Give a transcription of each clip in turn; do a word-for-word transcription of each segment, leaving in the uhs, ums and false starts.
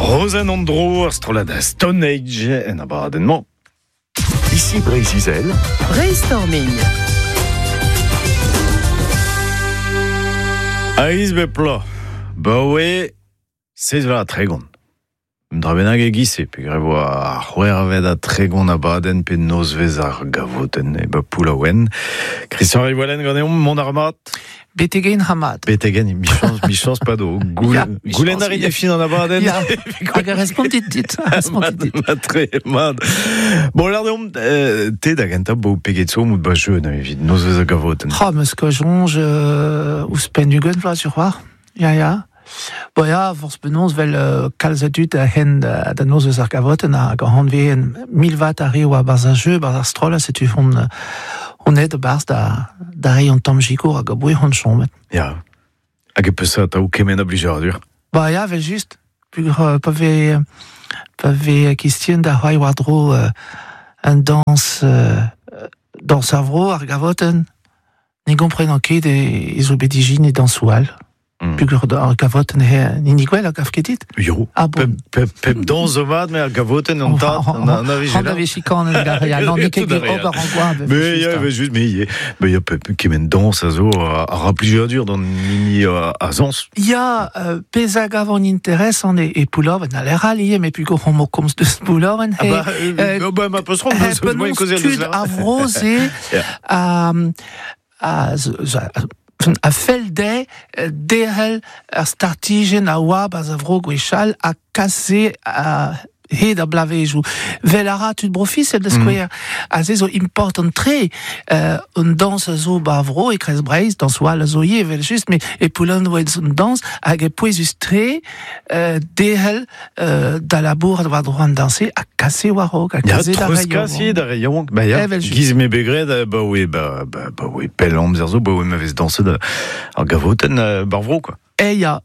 Rozenn an Dro, ar strollad Stone Age en abadenn-mañ. Ici Breizh-Izel. Brainstorming. Aiz be pla. Ba oe, seiz vloaz ha tregont. Dra bennak e giz-se, peogwir e vo ar c'hwec'hvet ha tregont abadenn pe nozvezh ar gavotenn e ba Poullaouen. Christian Rivoalen ganeomp, mont ar mat. Betegen hamad. Betegen, michans, michans pa do. Goulenn a rit e fin an abadenn. Ya, hag a respontit dit. Respontit dit. Mat, tre, mat. Bon, lar deomp, te da gentañ bo peget zo mout ba jeune evit nozvezh ar gavotenn. Ha, meus ket soñj euh, ouzhpenn ugent vloaz sur c'hoar. Ya, ya. Bo ya, forzh penaos vel euh, kalz a dud a hen da, da nozvezh ar gavotenn hag an hanveen mil vat a re oa barzh ar jeu, barzh ar stroll, setu hon, hon aet barzh da, da reiñ an tamm sikour hag a bouez hon chomet. Ya, hag e peus atav kement a blijadur. Ba ya, vel just, pugur pa vez pa vez kistien da c'hoari war-dro euh, un dañs euh, dañs ar vro ar gavotenn, ne gomprenan ket e, e zo bet ijin e dañsoù all. Mm. Pugur ar gavotenn he nini gwell a gav ket dit. Yo. Ah bon. Pep, pep, pep dañs zo mat, me ar gavotenn an tad, an, an a An a vez chikan en gar, ya, non, n'eo ket Tout a ober an gwa. Mais ya, vel just, mais ya, mais ya pep kement dañs a zo a, a ra plijadur d'an hini a, a zañs. Ya, euh, pezh a gav an interes an e, e Poullaouen, a l'air allié, mais pugur hon mo komz deus Poullaouen, Ah he, bah, euh, bah, ma peus ron, he deus moyen penaos kaozeal deus tud la. a vro-se Ya. a, a, zo- a, a fell dezhe derc'hel ar startijenn a oa ba'z a vro gwechall ha kase a hed a blavezioù. Vel a ra tud brofisel da skouer. A se zo important tre euh, un dañs a zo ba vro e Kreiz Breizh, dañs oa a zo ivez, vel just, mais e Poullaouen oa un dañs hag e pouezus tre euh, derc'hel euh, da labour war dro an dañse ha kase war-raok, ha Ya, kase da treuz reiñ. kasi da reiñ. Ba ya, Evel just. giz me begred, ba oe, ba, ba, ba oe pell amzer zo, ba oe ma vez dañset ar gavotenn euh, bar vro, quoi. E ya,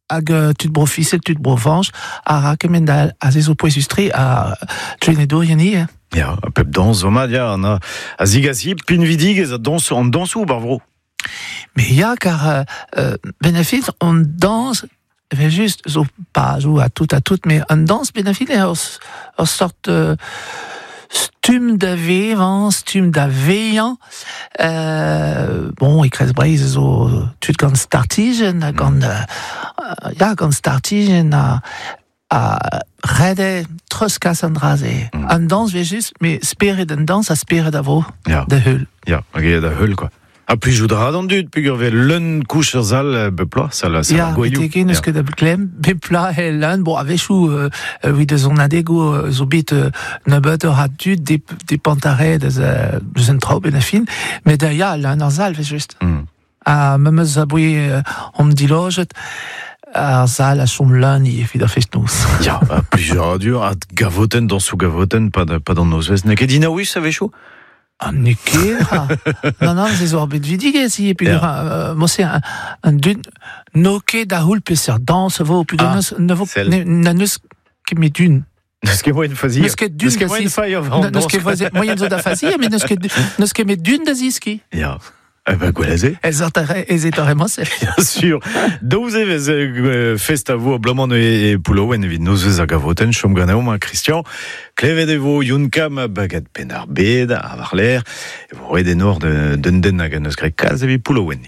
hag euh, tud brofisel, tud brovanj, a ra kement da a se zo pouezus tre a trenedourien ivez. Ya, a pep dañs zo mat, ya, an a, a zigasi pinvidigez a dañs an dañsoù bar vro. Mais ya, kar euh, euh, benefit, on danse, vel just, zo pa zo a tout a tout, mais an danse benefit eo ur, ur sort euh, stum da vevañ, stum da veilhañ. Euh, bon, e Kreiz Breizh zo tud gant startijenn, ha gant, euh, ya, gant startijenn a, a rede treuzkas an dra-se. Mm. An dañs vel just, mais spered an dañs a spered a vo Ya. da heul. Ya, hag eo da heul, quoi. Ha plijout a ra d'an dud, peogwir vez leun kouch ur sal bep ploaz, sal, sal Ya, ar gouelioù. beteke n'eus Ya. ket da klemm, bep ploaz e leun, bon, a-wechoù, euh, evit eus an adegoù, euh, zo bet euh, nebeut ur a dud de, de pantare deus, euh, deus un traoù ben a fin, met da ya, leun ar sal, vel just. Mm. Ha memes a boe euh, om dilojet, ar sal a chom leun i evit ar fest-noz. Ya, ha plijadur, ha gavotenn dañsoù gavotenn, pa da, pa d'an nozvezh. N'eo ket dinaouus a-wechoù? Ah, n'eo ket, ha. Non, non, se zo ar bet vidigez, i, puis Ya. euh, mo se un, un dud n'o ket da houl peseurt dañs vo, puis Ah, neus, ne vo, sell. ne, na neus ket met dun. N'eus ket moyen fazi. N'eus ket dun N'eus ket da moyen zis- failh an N'eus dañs. ket voisin- moyen zo da fazi, mais n'eus ket, n'eus ket met dun da ziski. Ya. Eh ben, gwell Ez ur ez et ar emañ Bien sûr. Daouz evez euh, fest a vo a blamant e, e Poullaouen evit nozvezh ar gavotenn, chom ganeomp, ha Christian. Klevet e vo Youn Kam bagat penn ar bed, a war l'air, e vo ret enor de, d'un den hag an eus graet kalz evit Poullaouen.